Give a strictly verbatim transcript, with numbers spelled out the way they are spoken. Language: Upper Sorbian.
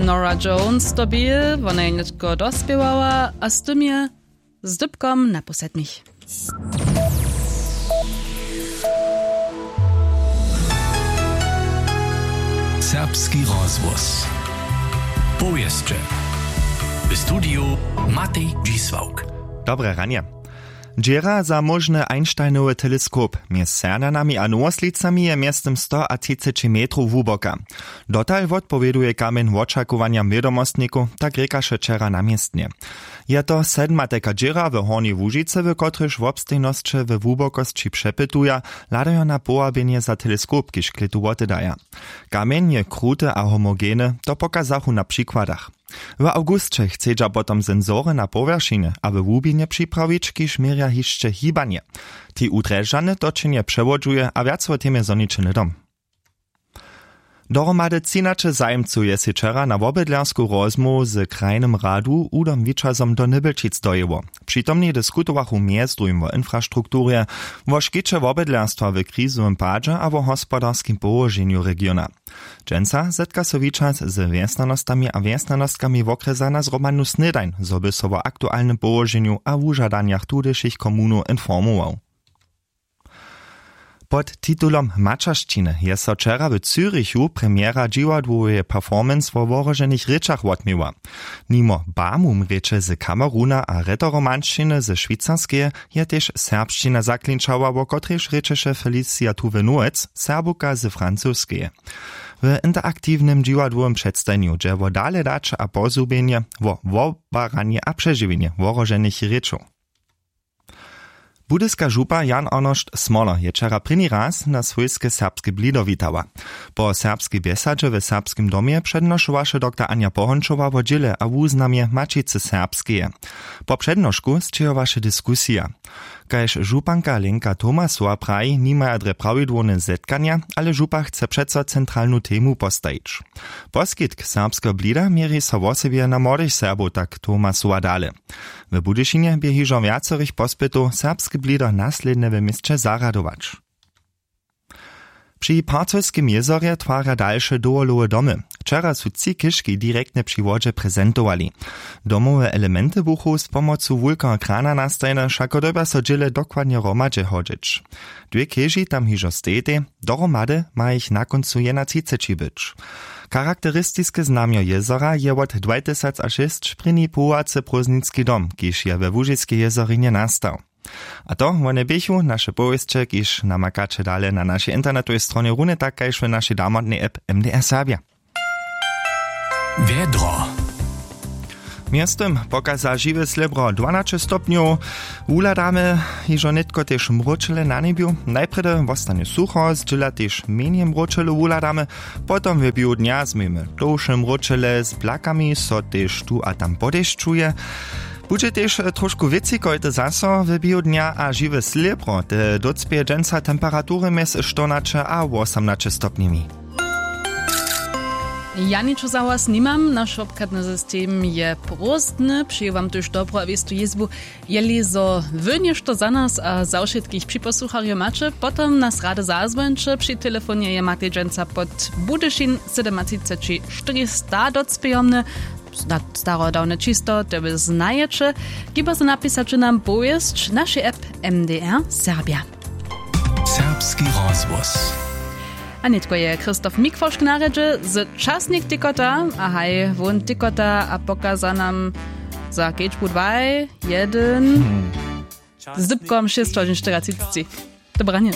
Nora Jones to bě, wona je nětko dospěwała a z tym je z dypkom naposednich. Serbski rozhłos. Powěsće. W studiju Matej Dźisławk. Dobre ranje. Dźěra za móžny Einsteinowy teleskop mjez Sernjanami a Nowoslicami je mjeztym sto a třiceći metrow hłuboka. Dotal wotpowěduje kamjeń wočakowanjam wědomostnikow, tak rěkaše wčera na městnje. Je to sedmateka dźěra w Hornjej Łužicy, w kotrejž wobstejnosće we hłubokosći přepytuja, hladajo na powabjenje za teleskop, kiž klětu wotedaja. Kamjeń je kruty a homogeny, to pokazachu na přikładach. W awgusće chcedźa potom sensory na powjeršinje a we hłubinje připrawić, kiž měrja hišće hibanje. Tej wudrježdźane točenje přewodźuje a wjac wo temje zhoniće hnydom. Dohromady třinaće zajimcow je sej wčera na wobydlersku rozmołwu z krajnym radu Hudom Wičazom do Nybelčic dojěło. Přitomni diskutowachu mjez druhim wo infrastrukturje, wo škiće wobydlerstwa w krizowym padźe a wo hospodarskim połoženju regiona. Dźensa zetka so Wičaz z wjesnjanostami a wjesnjanostkami wokrjesa na zhromadnu snědań, zo by so wo aktualnym połoženju a wužadanjach tudyšich komunow informował. Pod titulom Maćeršćiny je so wčera w Zürichu premjera dźiwadłoweje performance wo wohroženych rěčach wotměła. Nimo Bamum rěče z Kameruna a Rätoromanšćiny ze Šwicarskeje je tež serbšćina zaklinčała, wo kotrejž rěčeše Felicia Tuwenoec, Serbuka z Francoskeje. W interaktiwnym dźiwadłowym předstajenju dźe wo dale daće a pozhubjenje, wo wobaranje a přežiwjenje wohroženych rěčow. Budyska župa Jan Arnošt Smoler je wčera prěni raz na swójske serbske blido witała. Po serbskej bjesadźe w Serbskim domje přednošowaše doktor Anja Pohončowa wo dźěle a wuznamje Maćicy Serbskeje. Po přednošku sćěhowaše diskusija. Kaž županka Lenka Tomasowa praji, nimaja drje prawidłowne zetkanja, ale župa chce přeco centralnu temu postajić. Poskitk serbskeho blida měri so wosebje na młodych Serbow, tak Tomasowa dale. W Budyšinje bě hižo wjacorych pospytow, serbske blido naslědnje w měsće zarjadować. Při Parcelskim jězorje twarja dalše dowolowe domy. Wčera su tři chěžki direktnje při wodźe prezentowali. Domowe elementy buchu z pomocu wulkeho krana nastajene, wšako dyrbja so dźěle dokładnje hromadźe hodźeć. Dwě chěži tam hižo stejitej, dohromady ma jich na kóncu jena třiceći być. Charakteristiske znamjo jězora je wot dwajtysac a šěsć prěni powołacy prózdninski dom, kiž je we Łužiskej jězorinje nastał. A to wone běchu naše powěsće, kiž namakaće dale na našej internetowej stronje, runje tak kaž w našej damotnej app M D R Serbja. Wjedro. Mjeztym pokaza žiwe slěbro dwanaće stopnjow. Wuhladamy hižo nětko tež mróčele na njebju. Najprjedy wostanje sucho, zdźěla tež mjenje mróčele wuhladamy. Potom w běhu dnja změjemy tołše mróčele z blakami, so tež tu a tam podešćuje. Budźe tež trošku wětřikojte zaso w běhu dnja a žiwe slěbro te docpěje dźensa temperatury mjez štyrnaće a wosomnaće stopnjemi. Ja ničo za was nimam, naš wobchadny system je prózdny. Přeju wam tuž dobru a wěstu jězbu. Jeli zo wy něšto za nas a za wšitkich připosłucharjow maće, potom nas rady zazwońće. Při telefonje je matej dźensa pod Budyšin sydomatřiceći štyrista docpějomny. Starodawne čisto te wy znajeće. Hiba so napisaće nam powěsć w našej app M D R Serbja. Serbski rozhłos. A nětko je Christoph Mikwošk na rjedźe z Časnik Tikota. A haj, wón tikota a pokaza nam za kedźbu dwaj, jedyn z dypkom šěsćhožin štyriatřiceći. Dobranje.